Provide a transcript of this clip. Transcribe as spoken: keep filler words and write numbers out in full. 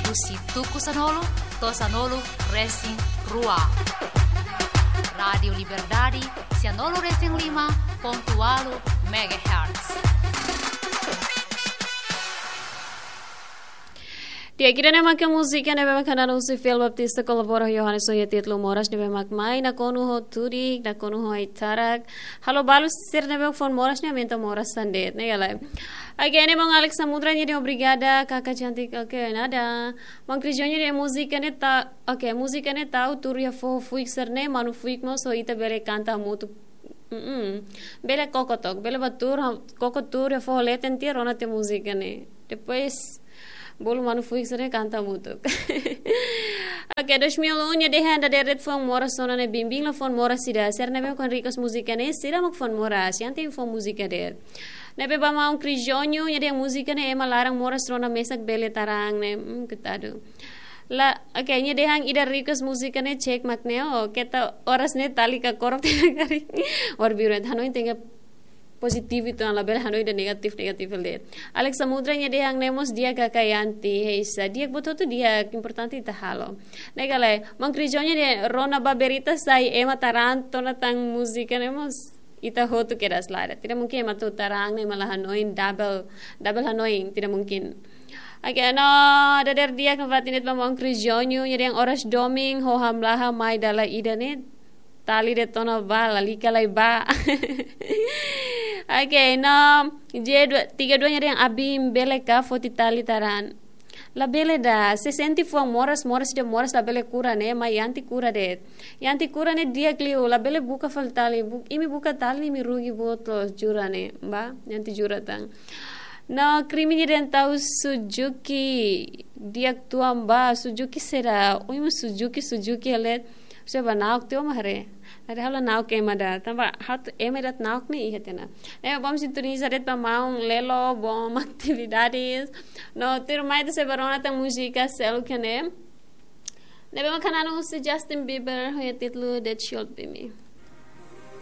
Husi tuku sanulu to'o sanulu resin rua. Rádiu Liberdade, sianulu resin lima pontu ualu megahertz. Di'ak, ida-ne'e mak múzika ne'ebé mak hanesan husi Fiel Baptista kolabora Yohanes ho títulu Moras ne'ebé mak mai nakonu ho tudik, nakonu ho ai-tarak. Halo balu sira ne'ebé foin moras ne'e aumenta moras tan de'it, ne'e ka lae. Oke, ne'e maun Alex Samudra nia dehan obrigada, kaka cantik. Oke, nada. Maun Cris Júnior dehan múzika ne'e ta, oke, múzika ne'e tau tuur iha foho fuik sira-ne'e, manu fuik mós ho ita bele kanta hamutuk. Mm-mm. Bele koko took, bele bá tuur, ha-, koko tuur iha foho leten tiha rona tiha múzika ne'e. Depois, bolu manu fuik sira-ne'e kanta hamutuk. Oke, dois mil e um nia dehan dadeer de'it foin moras rona ne'e bimbing la foin moras ida. Sira ne'ebé mak request múzika ne'e, sira mak foin moras. Yang tem foin múzika de'it. Ne'ebé ba maun Cris Júnior nia dehan múzika ne'e ema laran moras rona mesak bele tarang ne'e. Hmm, coitadu. La, oke, nia dehan ida request múzika ne'e cek mak ne'e, oh, keta oras ne'e tali ka korok tiha karik. War biru, hanoin tenke pozitivu, entaun labele hanoin ida negativu, negativu de'it. Alex Samudra nia dehan ne'e mós di'ak kaka Yanti, heisa. Di'ak buat hotu di'ak, importante ita halo. Ne'e ka lae, maun Cris Júnior dehan rona ba berita sai ema tarang tiha ona tan múzika ne'e mós ita hotu kedas lada. Tidak mungkin ema atu tarang ne'e ema la hanoin double, double hanoin, tidak mungkin. Oke, no, dadeer di'ak no fatin de'it ba maun Cris Júnior, nia dehan oras domin ho hamlaha mai dala ida ne'e, tali de'it ona ba, lalika lai ba. Oke, no, J dua, tiga dua nia dehan abin bele ka foti tali tarang. Labele ida, se sente foin moras, moras ida moras labele kura ne'e, mai Yanti kura de'it. Yanti kura ne'e di'ak liu, labele buka fali tali, bu-, imi buka tali, imi rugi buat loos, jura ne'e, ba, Yanti jura tan. No, Krimi nia dehan tau Suzuki, di'ak tuan ba, Suzuki saida, ui mu Suzuki, Suzuki hela, se ba na'ok tiha mak haree. Nada halo na'ok ema ida, tanba ha'u ema ida na'ok ne'e iha tiha ona. Ne'e bom sintoniza de'it ba maun Lelo, bom atividades. No, tuirmai ita sei bá rona tan múzika seluk ne'e. Ne'ebé mak hanesan husi Justin Bieber, ho títulu That Should Be Me.